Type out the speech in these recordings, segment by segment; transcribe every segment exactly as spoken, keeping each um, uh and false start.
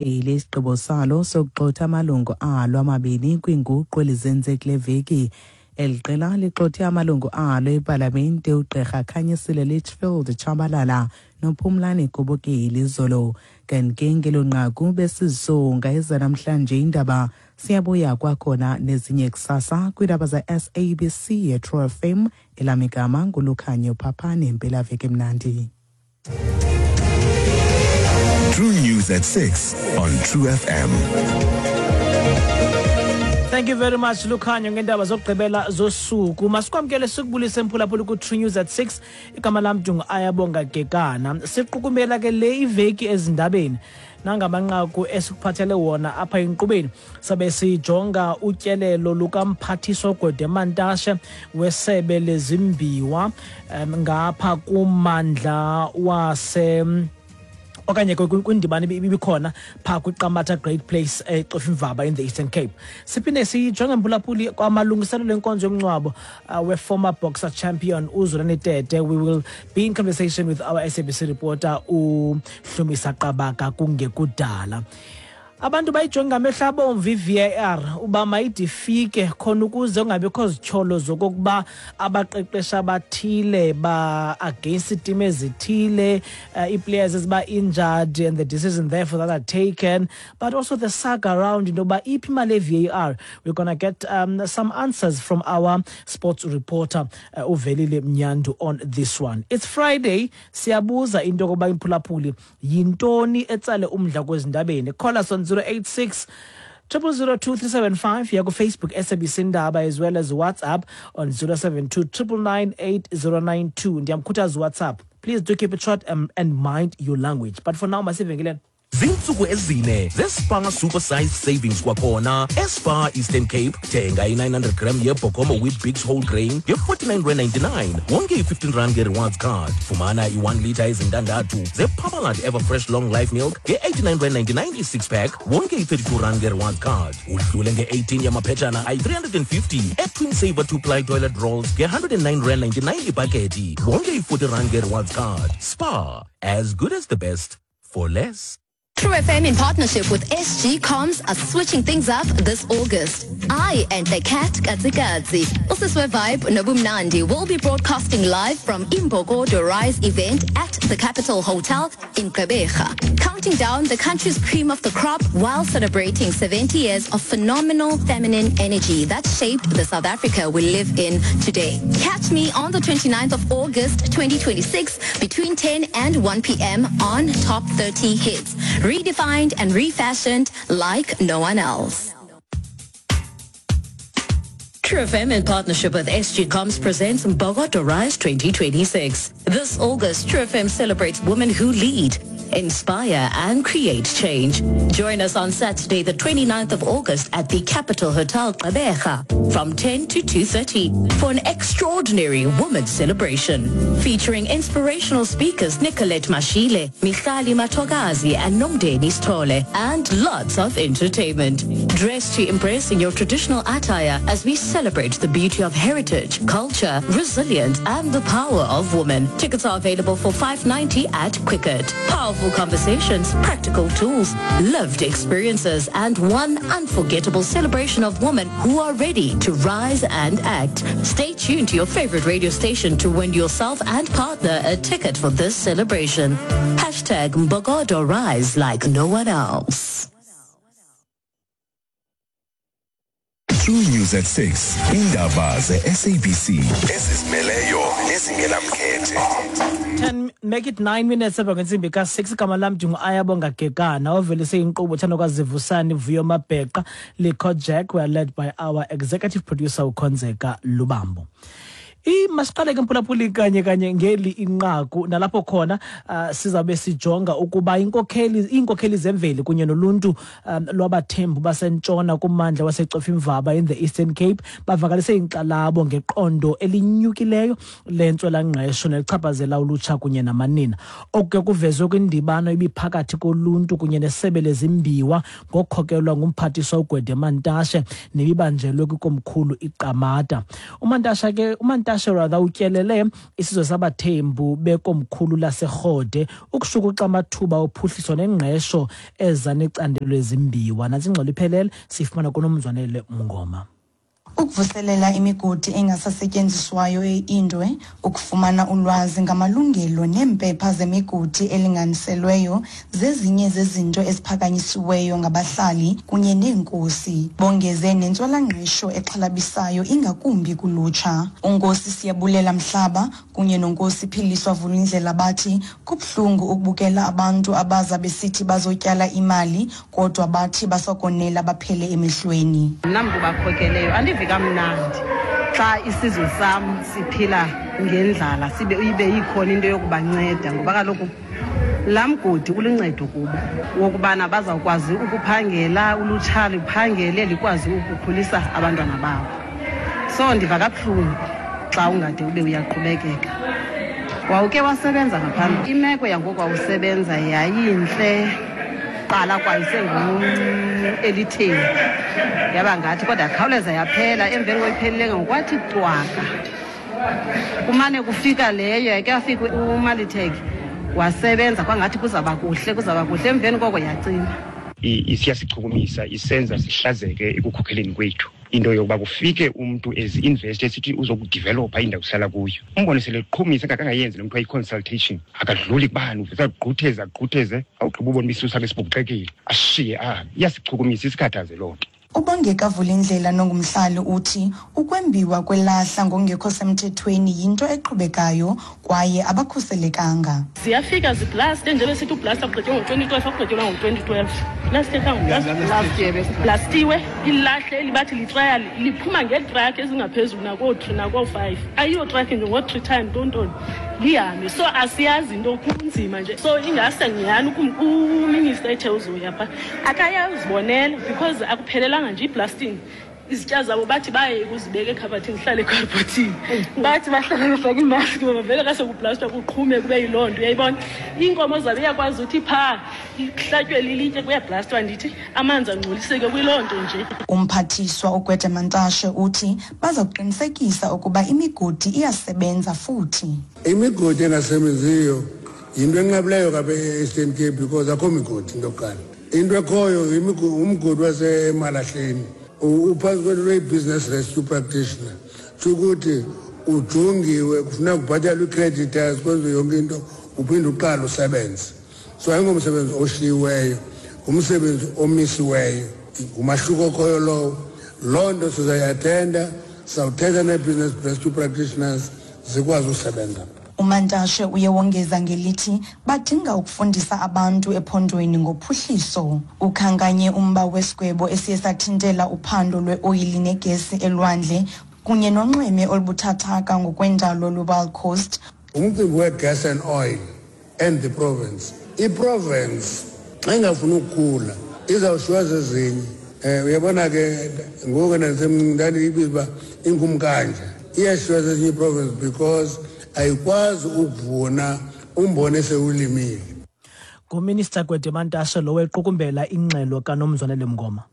Isigqibo salo sokugxotha amalungu alo amabini kwiinguqu elizenze kule veki. Eli qela ligxothe amalungu alo epalamente uGqirha Khanyisile Litchfield Tshabalala noPhumlani Gobokeli izolo. Kanti ke ngelo nqaku besizisonga ezanamhlanje iindaba. Siyabuya kwakhona nezinye kusasa kwiindaba ze-S A B C yeTrue F M. Elam igama nguLukhanyo Phaphane. Mpelaveki emnandi. True News at six on True F M. Thank you very much, Lukhanyo, ngendaba zokugqibela zosuku. Masikwamkele, sikubulise, mphulaphuli, ku-True News at six. Igama lam Dungu Ayabonga Gekana. Siqukumbela ke le iveki ezindabeni nangamanqaku esikuphathele wona apha enkqubeni. Sabe sijonga utyelelo lukamphathiswa Gwede Mantashe wesebe lezimbiwa um, ngapha kumandla wase okanye kwindibano ibikhona phaa kwiQamata Great Place eCofimvaba in the Eastern Cape. Siphinde sijonge, mphulaphuli, kwamalungiselelo enkonzo yomngcwabo uh, we-former boxer champion uZolani Tete. We will be in conversation with our S A B C reporter uHlumisa Qabaka kungekudala. Abantu bayijonge ngamehlo abomvu i-V A R uba mayide ifike khona ukuze kungabikho zityholo zokokuba abaqeqeshi abathile ba-against iitim ezithile, uh, ii-players eziba injured and the decision therefore that are taken, but also the saga around into yoba iphi imali ye-V A R. We're gonna get um, some answers from our sports reporter uh, uVelile Mnyandu on this one. It's Friday. Siyabuza into yokoba, imphulaphuli, yintoni etsale umdla kwezindabeni? Call us on zero eight six triple zero two three seven five, ya Facebook S A B C Indaba, as well as WhatsApp on zero seven two nine nine nine eight zero nine two. Ndiyamkhuthaza WhatsApp, please do keep it short um, and mind your language. But for now, masivenkileni. Zintsuku ezine zeSpar Super Size Savings kwakhona eSpar Eastern Cape. Thenga i-nine hundred gram yeBokomo Weet-Bix whole grain nge-forty-nine rand ninety-nine, wonke i-fifteen rand nge-rewards card. Fumana i-one litre ezintandathu zeParmalat Everfresh Long Life Milk nge-eighty-nine rand ninety-nine i-six pack, wonke i-thirty-two rand nge-rewards card. Udlule nge-eighteen yamaphetshana ayi-three hundred and fifty eTwin Saver two-ply toilet rolls nge-one hundred and nine rand ninety-nine ibhakethi, wonke i-forty rand nge-rewards card. Spar, as good as the best for less. True F M in partnership with S G Comms are switching things up this August. I and the cat Katsikatsi, Usiswe Vibe Nobumnandi, will be broadcasting live from Imbokodo Rise event at the Capital Hotel in Gqeberha, counting down the country's cream of the crop while celebrating seventy years of phenomenal feminine energy that shaped the South Africa we live in today. Catch me on the twenty-ninth of August twenty twenty-six between ten and one p m on Top thirty Hits. Redefined and refashioned like no one else. True F M in partnership with S G Comms presents Mbokodo Rise twenty twenty-six. This August, True F M celebrates women who lead, inspire and create change. Join us on Saturday, the 29th of August at the Capital Hotel Gqeberha from ten to two thirty for an extraordinary women's celebration featuring inspirational speakers Nicolette Mashile, Michali Matogazi and Nomdeni Stole, and lots of entertainment. Dress to impress in your traditional attire as we celebrate the beauty of heritage, culture, resilience and the power of women. Tickets are available for five ninety at Quicket. Powerful conversations, practical tools, lived experiences and one unforgettable celebration of women who are ready to rise and act. Stay tuned to your favorite radio station to win yourself and partner a ticket for this celebration. Hashtag Mbokodo Rise like no one else. True News at six. Indaba ze-S A B C ezizimeleyo nezingenamkhethe. ten, make it nine minutes emva kwentsimbi ka-six. Igama lam ndingu-Ayabonga Gekana, ovelise inkqubo Thandokazivusani Vuyo Mabheqa Likho Jack. We are led by our executive producer uKhonzeka Lubambo. Masiqale ke, mphulaphuli, kanye kanye ngeli inqaku nalapho khona uh, sizabe sijonga ukuba inkokheli iinkokheli zemveli kunye noluntu um, lwabathembu basentshona kummandla waseCofimvaba in the Eastern Cape bavakalise inkxalabo ngeqondo elinyukileyo lentswelangqesho nelichaphazela ulutsha kunye namanina. Oku ke kuvezwe kwindibano ibiphakathi koluntu kunye nesebe lezimbiwa ngokukhokelwa ngumphathiswa uGwede Mantashe nebibanjelwe kwikomkhulu iQamata. uMantashe ke uMantashe Mantashe rather utyelele isizwe sabaThembu bekomkhulu laseRhode ukushukuxa amathuba ophuhliso nengqesho eza necandelo lezimbiwa. Nantsi ingxelo iphelele siyifumana kuNomzwanele Mngoma. Ukuvuselela imigodi engasasetyenziswayo eIndwe, ukufumana ulwazi ngamalungelo neempepha zemigodi elinganiselweyo zezinye zezinto eziphakanyisiweyo ngabahlali kunye neenkosi. Bongeze nentswelangqesho exhalabisayo ingakumbi kulutsha. UNkosi Siyabulela Mhlaba kunye noNkosi Philiswa Vulindlela bathi kubuhlungu ukubukela abantu abaza besithi bazotyala imali kodwa bathi basokonela baphele emehlweni. Mna mntu bakhokeleyo andivi kamnandi xa isizwe sam siphila ngendlala, sibe ibe ikhona into yokubanceda, ngoba kaloku laa mgodi uluncedo kubo wokubana bazawukwazi ukuphangela, ulutsha luphangele likwazi ukukhulisa abantwana babo. So ndiva kabuhlungu xa ungade ube uyaqhubekeka. Wawuke wasebenza ngaphambili, imeko yangoku wawusebenza yayintle, qala kwayo elitheni yaba ngathi, kodwa yakhawuleza yaphela. Emveni koyiphelile ngokwathi cwaka, kumane kufika leyo yake yafika uMalitech wasebenza kwangathi kuzaba kuhle, kuzaba kuhle, emveni koko yacima. Isiyasichukumisa, isenza sihlazeke ekukhokheleni kwethu into yokuba kufike umntu ezi-invest esithi uzokudevelopha indawo kuhlala kuyo, umbone sele eqhumisa engakangayenzi lo mntu ayi-consultation, akadluli kubani, uvese agqutheze agqutheze awugqiba ubona uba isisu sakhe sibhukuxekile ashiye ahambe. Iyasichukumisa, isikhathaze loo nto. Ubongeka Vulindlela nongumhlali uthi ukwembiwa kwelahla ngokungekho semthethweni yinto eqhubekayo kwaye abakhuselekanga. Ziyafika ziblaste, njengoba sithi ublasta ugqitywe ngo-twenty twelve, akugqityelwa ngo-twenty twelve. Blastiwe ilahle elibathi litrial liphuma ngeetrakhi ezingaphezulu nakoo-three nakoo-five. Ayiyo trakhi nje, ngoo-three time ntontoni lihambe. So asiyazi into, kunzima nje. So ingase nyhani uminister ethe uzoya phaa akayazibonela, because akuphelelanga nje iblasting. Izitya zabo bathi baye kuzibeka ekhabathini, zihlale ekhabhathini, bathi bahlale befake imaski ngoba vele xa sekublastwa kuqhume kube yiloo nto. Uyayibona iinkomo zabo iyakwazi uthi phaa ihlatywe lilitye kuyablastwa, ndithi amanzi angcoliseke kwiloo nto nje. Umphathiswa uGwede Mantashe uthi baza kuqinisekisa ukuba imigodi iyasebenza futhi. Imigodi engasebenziyo yinto enqabileyo kapha e-Eastern Cape because akho migodi. Into yokuqala, into ekhoyo umgodi waseMalahleni uphantsi kwento lweyi-business rescue practitioner, tsho ukuthi ujongiwe, kufuneka kubhatalwe ii-creditors, kwenziwe yonke into, uphinde uqale usebenze. So ayingomsebenzi oshiyiweyo, ngumsebenzi omisiweyo, ngumahluko okhoyo lowo. Loo nto sizayiathenda, sizawuthetha nee-business rescue practitioners zikwazi usebenza. UMantashe uye wongeza ngelithi badinga ukufundisa abantu ephondweni ngophuhliso. Ukhankanye umba wesigwebo esiye sathintela uphando lweoyili negesi elwandle kunye nonxweme olubuthathaka ngokwendalo lweWild Coast. Umcimbi we-gas and oil and the province, iprovince xa ingafuni ukukhula izawushiywa zezinye. Um uyabona ke ngoku ndandiyibiza uba ingumkanja, iyashiywa zezinye iprovince because ayikwazi ukuvuna umbone esewulimile. Nguminister Gwede Mantashe lo wequkumbela ingxelo kaNomzwanele Mngoma.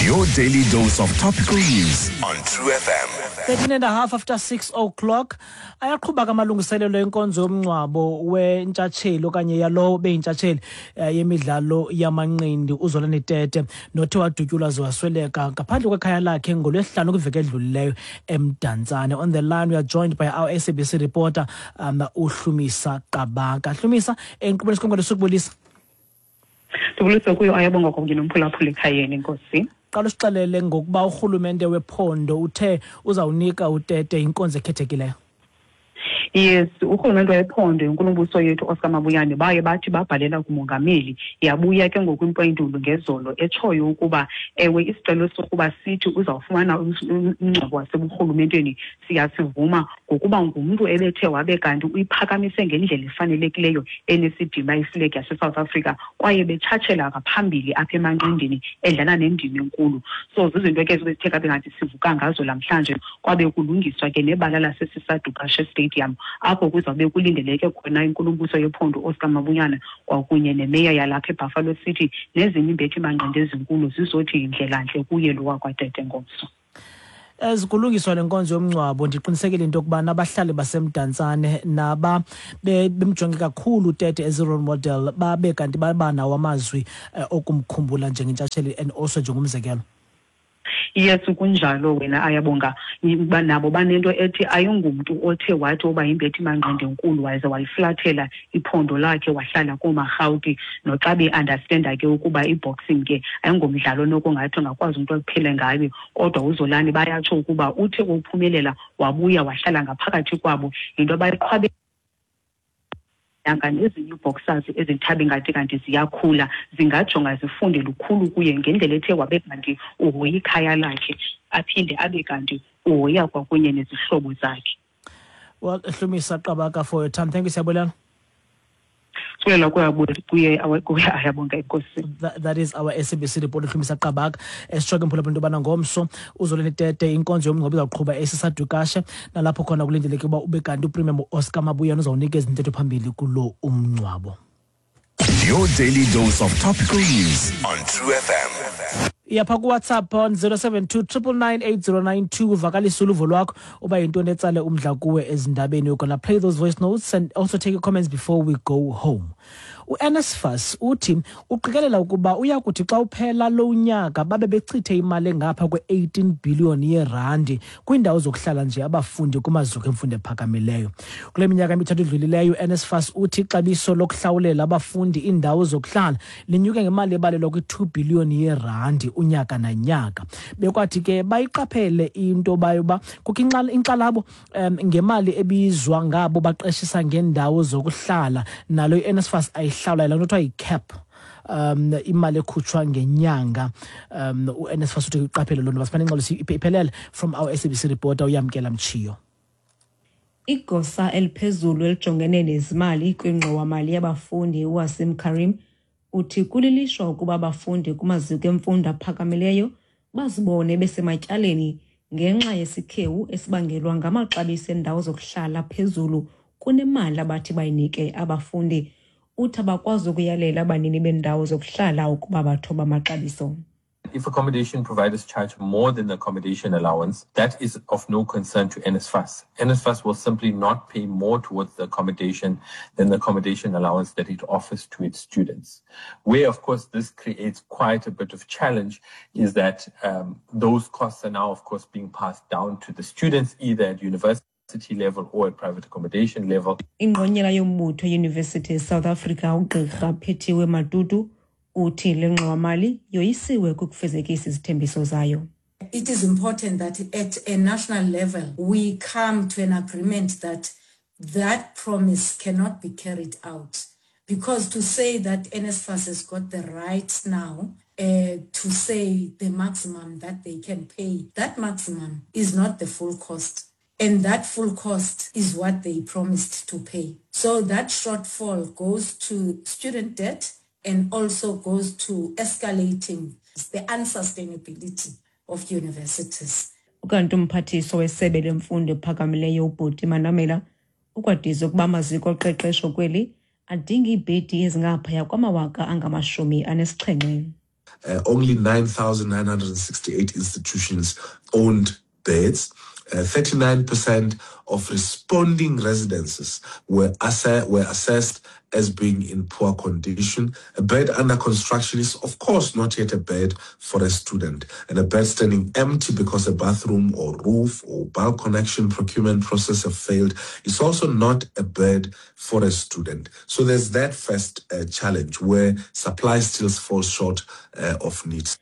Your daily dose of topical news on True F M. thirteen and a half after six o'clock. Ayaqhuba kamalungiselelo enkonzo yomngcwabo wentshatsheli okanye yalowo beyintshatsheli yemidlalo yamanqindi uZolani Tete nothe wadutyulwa wasweleka ngaphandle kwekhaya lakhe ngolwesihlanu kwiveki edlulileyo eMdantsane. On the line we are joined by our S A B C reporter um, uHlumisa Qabaka. Hlumisa, enkqubeni sikhongolo sokubulisa. Ndibulisa kuyo Ayabonga kunye nomphulaphuli ekhayeni, Nkosi. Qala usixelele ngokuba urhulumente wephondo uthe uzawunika uTete inkonzo ekhethekileyo. Yes, urhulumente wephondo inkulumbuso yethu Oscar Mabuyane baye bathi babhalela kumongameli, yabuya ke ngoku impendulo ngezolo etshoyo ukuba ewe isicelo sokuba sithi uzawufumana umngcwabo waseburhulumenteni siyasivuma ngokuba ngumntu ebethe wabe kanti uyiphakamise ngendlela efanelekileyo enesidima iflegi yaseSouth Africa kwaye betshatshela ngaphambili apha emanqindini edlala nendima enkulu. So zizinto ke ezibethe kabe ngathi sivuka ngazo namhlanje, kwabe kulungiswa ke nebala laseSisadukashe Stadium apho kuzawube kulindeleke khona inkulumbuso yephondo Oscar Mabuyane kwakunye nemeya yalapha eBuffalo City nezinye iimbethi manqindi ezinkulu zizothi indlelantle kuye lo wakwaTete ngomso. As kulungiswa le nkonzo yomngcwabo, ndiqinisekile into yokubana abahlali baseMdantsane naba bemjonge kakhulu uTete as a role model babe kanti baba nawo amazwi eh, okumkhumbula njengentshatsheli and also njengomzekelo. Yes, kunjalo wena Ayabonga. Nabo banento ethi ayingumntu othe wathi oba yimbethi manqindi enkulu waze waliflathela iphondo lakhe wahlala koomaRhawuti, noxa be-understanda ke ukuba i-boxing ke ayingomdlalo nokungathi ungakwazi umntu akuphele ngayo, kodwa uZolani bayatsho ukuba uthe uphumelela wabuya wahlala ngaphakathi kwabo. Yinto abayiqhwabe yanga nezinye ii-boxers ezithabe ngathi kanti ziyakhula zingajonga zifunde lukhulu kuye ngendlela ethe wabe kanti uhoya ikhaya lakhe, aphinde abe kanti uhoya kwakunye nezihlobo zakhe. Well, Hlumisa Qabaka, for your time, thank you, siyabulela. Sibulela kuye kuye Ayabonga, enkosi. That, that is our S A B C reporter Hlumisa Qabaka esitsho ke, mphulaphuli, into yobana ngomso uZolani Tete inkonzo yomngcwabo izawuqhuba eSisa Dukashe, nalapho khona kulindeleke uba ube kanti uPremier Oscar Mabuyane uzawunikeza intetho phambili kulo umngcwabo. Your daily dose of topical news on True F M. Yapha kuWhatsApp on zero seven two nine nine nine eight zero nine two, uvakalise uluvo lwakho uba yintoni etsale umdla kuwe ezindabeni. We're gonna play those voice notes and also take your comments before we go home. U-N S F A S uthi uqikelela ukuba uya kuthi xa uphela lo nyaka babe bechithe imali engapha kwe-eighteen billion yerandi kwiindawo zokuhlala nje abafundi kumaziko emfundo ephakamileyo. Kule minyaka emithathu idlulileyo, u-N S F A S uthi ixabiso lokuhlawulela abafundi iindawo zokuhlala linyuke ngemali ebalelwa kwi-two billion yerandi unyaka nanyaka. Bekwathi ke bayiqaphele into bayoba kukho inkxalabo um ngemali ebizwa ngabo baqeshisa ngeendawo zokuhlala, nalo i-N S F A S ayihlawula, laa nto kuthiwa yi-cap, um imali ekhutshwa ngenyanga. um u-N S F A S uthi iqaphele loo nto. Masifane ingxelo iphelele from our S A B C reporter uYamkela Mchiyo. Igosa eliphezulu elijongene nezimali kwingxowamali yabafundi uWaseem Carrim uthi kulilishwa ukuba abafundi kumaziko emfundo aphakamileyo bazibone besematyaleni ngenxa yesikhewu esibangelwa ngamaxabiso endawo zokuhlala phezulu kunemali abathi bayinike abafundi. Uthi abakwazi ukuyalela abanini beendawo zokuhlala ukuba bathoba amaxabiso. If accommodation providers charge more than the accommodation allowance, that is of no concern to N S F A S. N S F A S will simply not pay more towards the accommodation than the accommodation allowance that it offers to its students. Where, of course, this creates quite a bit of challenge is that um, those costs are now, of course, being passed down to the students, either at university level or at private accommodation level. Ingqonyela yombutho University South Africa uGqirha Phethiwe Matutu uthi le ngxowamali yoyisiwe kukufezekisa izithembiso zayo. It is important that at a national level we come to an agreement that that promise cannot be carried out. Because to say that N S F A S has got the right now uh, to say the maximum that they can pay, that maximum is not the full cost. And that full cost is what they promised to pay. So that shortfall goes to student debt and also goes to escalating the unsustainability of universities. Ukanti umphathiswa wesebe lemfundo ephakamileyo uButi Manamela ukwadize ukuba amaziko oqeqesho kweli adinga iibhedi ezingaphaya kwamawaka angamashumi anesixhenxe. Uh, only nine thousand nine hundred sixty-eight institutions owned beds. Uh, thirty-nine percent of responding residences were, asse- were assessed as being in poor condition. A bed under construction is, of course, not yet a bed for a student. And a bed standing empty because a bathroom or roof or bulk connection procurement process have failed is also not a bed for a student. So there's that first uh, challenge where supply still falls short uh, of needs.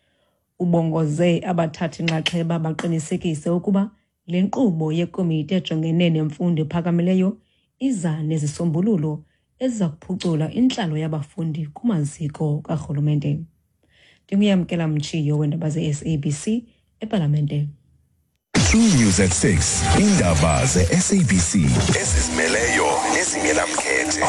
Ubongoze abathathi nxaxheba baqinisekise ukuba le nkqubo yekomiti ejongene nemfundo ephakamileyo iza nezisombululo eziza kuphucula intlalo yabafundi kumaziko karhulumente. NdinguYamkela Mchiyo weendaba ze-S A B C epalamente. True News at six. Indaba ze-S A B C ezizimeleyo nezingenamkhethe.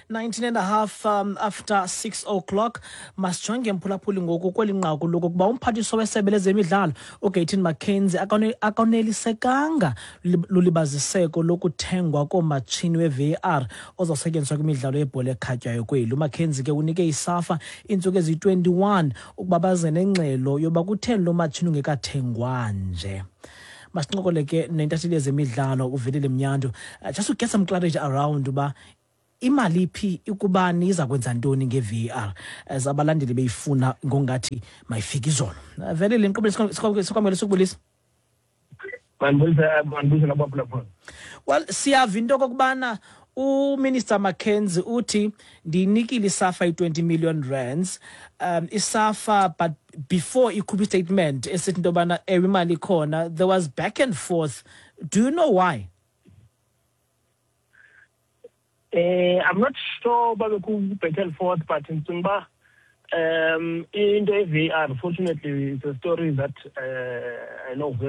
nineteen and a half um, after six o'clock. Masijonge, mphulaphuli, ngoku kweli nqaku lokokuba umphathiswa wesebe lezemidlalo uGayton McKenzie akone- akonelisekanga lulibaziseko lokuthengwa koomatshini we-V A R ozosetyenziswa kwimidlalo yebhola ekhatywayo kweli. UMcKenzie ke unike iSAFA iintsuku eziyi-twenty-one ukuba baze nengxelo yoba kutheni lo matshini ungekathengwa nje. Masincokole ke nentatheli yezemidlalo uVelile Mnyandu, uh, just to get some clarity around uba imali iphi, ikubani, iza kwenza ntoni nge-V A R, as abalandeli beyifuna ngongathi mayifike izolo. Uh, velile inkqubo, sikwamkele, sikubulisa. Mandibulise, mandibulise nabaphulaphula. Well, siyava into okokubana uMinister McKenzie uthi ndiyinikile iSAFA i-twenty million rands, um iSAFA, but before ikhuphe istatement esithi into yobana ewe, imali ikhona, there was back and forth. Do you know why? Eh I'm not sure babe ku back and forth, but ndicinga uba um into ye-V A R, fortunately, it's a story that uh, I know very